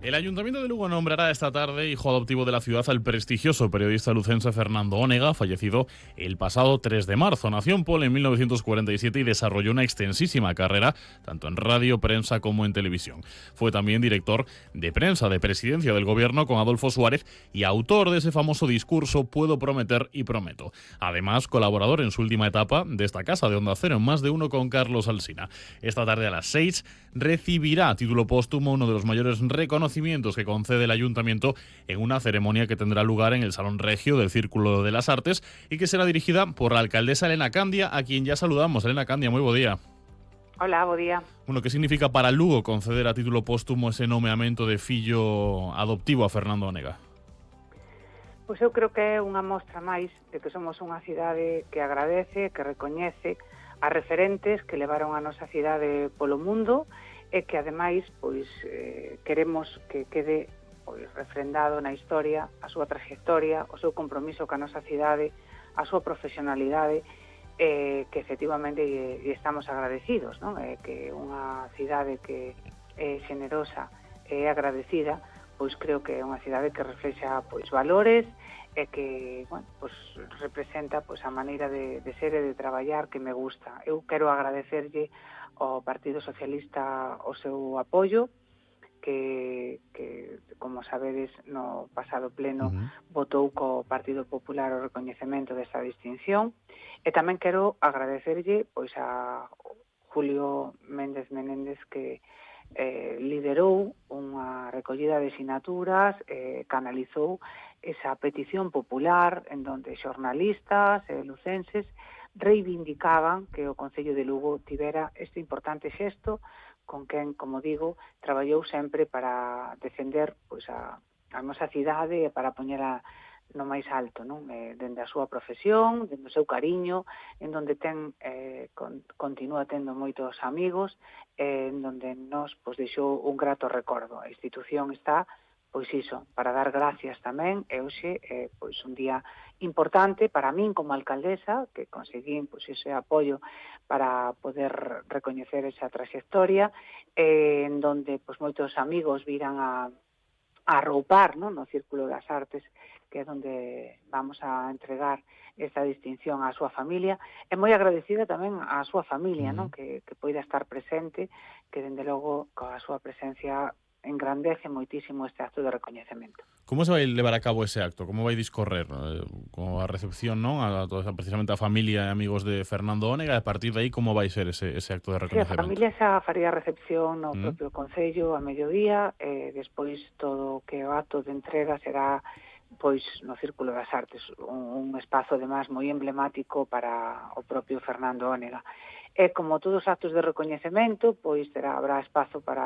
El Ayuntamiento de Lugo nombrará esta tarde hijo adoptivo de la ciudad al prestigioso periodista lucense Fernando Onega, fallecido el pasado 3 de marzo. Nació en Pol en 1947 y desarrolló una extensísima carrera tanto en radio, prensa como en televisión. Fue también director de prensa de presidencia del gobierno con Adolfo Suárez y autor de ese famoso discurso "Puedo prometer y prometo". Además, colaborador en su última etapa de esta casa de Onda Cero en Más de Uno con Carlos Alsina. Esta tarde a las 6 recibirá a título póstumo uno de los mayores reconocimientos que concede el Ayuntamiento en una ceremonia que tendrá lugar en el Salón Regio del Círculo de las Artes y que será dirigida por la alcaldesa Elena Candia, a quien ya saludamos. Elena Candia, moi bo día. Hola, bo día. Bueno, que significa para Lugo conceder a título póstumo ese nomeamento de fillo adoptivo a Fernando Onega? Pois eu creo que é unha mostra máis de que somos unha cidade que agradece, que recoñece as referentes que levaron a nosa cidade polo mundo e que ademais pois queremos que quede pois refrendado na historia a súa trayectoria, o seu compromiso ca nosa cidade, a súa profesionalidade, que efectivamente estamos agradecidos, non? Que unha cidade que é xenerosa e agradecida, pois creo que é unha cidade que reflexa pois valores e que, bueno, pois representa pois a maneira de ser e de traballar que me gusta. Eu quero agradecerlle ao Partido Socialista o seu apoio, que como sabedes, no pasado pleno votou co Partido Popular o recoñecemento desta distinción, e tamén quero agradecerlle pois a Julio Méndez Menéndez, que liderou unha recollida de sinaturas, canalizou esa petición popular en donde xornalistas e lucenses reivindicaban que o Concello de Lugo tivera este importante xesto con quen, como digo, traballou sempre para defender pois a nosa cidade e para poñela no máis alto, non? Dende a súa profesión, dende o seu cariño, en donde continúa tendo moitos amigos, en donde nos pois deixou un grato recordo. A institución está pois iso, para dar gracias tamén, e hoxe pois un día importante para min como alcaldesa, que conseguín pois ese apoio para poder recoñecer esa trayectoria, en donde pois moitos amigos viran a arroupar, non? No Círculo das Artes, que é onde vamos a entregar esta distinción á súa familia, e moi agradecida tamén á súa familia, non? Que poida estar presente, que dende logo coa súa presencia engrandece moitísimo este acto de recoñecemento. Como se vai levar a cabo ese acto? Como vai discorrer? Con a recepción, non? A toda precisamente a familia e amigos de Fernando Onega, e a partir de aí como vai ser ese acto de recoñecemento? Sí, a familia xa faría a recepción no propio Concello a mediodía, e despois todo o que o acto de entrega será pois no Círculo das Artes, un espazo además moi emblemático para o propio Fernando Onega. E como todos os actos de recoñecemento, pois habrá espazo para